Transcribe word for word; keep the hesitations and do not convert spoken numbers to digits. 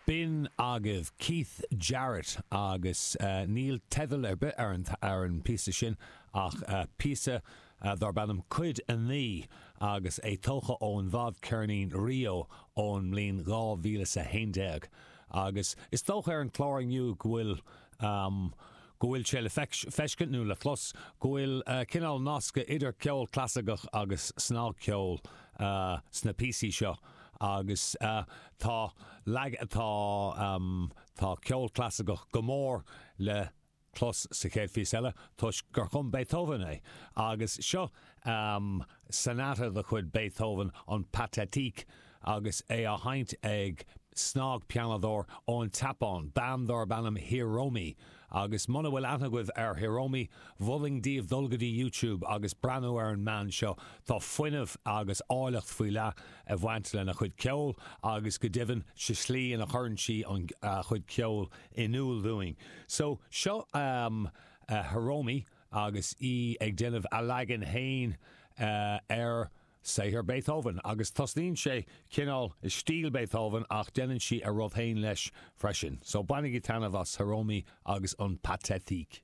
B'in agaibh Keith Jarrett agus uh, níl teideal ar bith ar an, ar an píosa sin ach uh, píosa uh, darb ainm Cuid a naoi agus é tógtha ón bhfadcheirnín Rio ón mbliain dhá mhíle a haon déag. Agus is dócha ar an chlár inniu go bhfuil um, go bhfuil sé le feiscint nó le clos go bhfuil uh, cineál nasc idir ceol clasaiceach agus snagcheol uh, sna píosaí seo. agus uh, tá lag atá um, tá ceol clasaiceach go mór le clos sa chéad phíosa eile toisc gur chum Beethoven é. Agus seo um, sonata de chuid Beethoven an Pathétique agus é á sheinnt ag snagphianóir ón tSeapáin, bean darb ainm Hiromi. Agus muna bhfuil aithne agaibh ar Hiromi, mholfainn daoibh dul go dtí YouTube agus breathnú ar an mbean seo tá fuinneamh agus áilleacht faoi leith ag baint lena chuid ceoil agus go deimhin sa tslí ina chuireann sí an chuid ceoil in iúl dúinn. So seo um, uh, Hiromi agus í ag déanamh a leagan féin uh, ar saothar Beethoven agus tosnaíonn sé cineál i stíl Beethoven ach déanann sí a rud féin leis freisin. So bainigí taitneamh as Hiromi agus an Pathétique.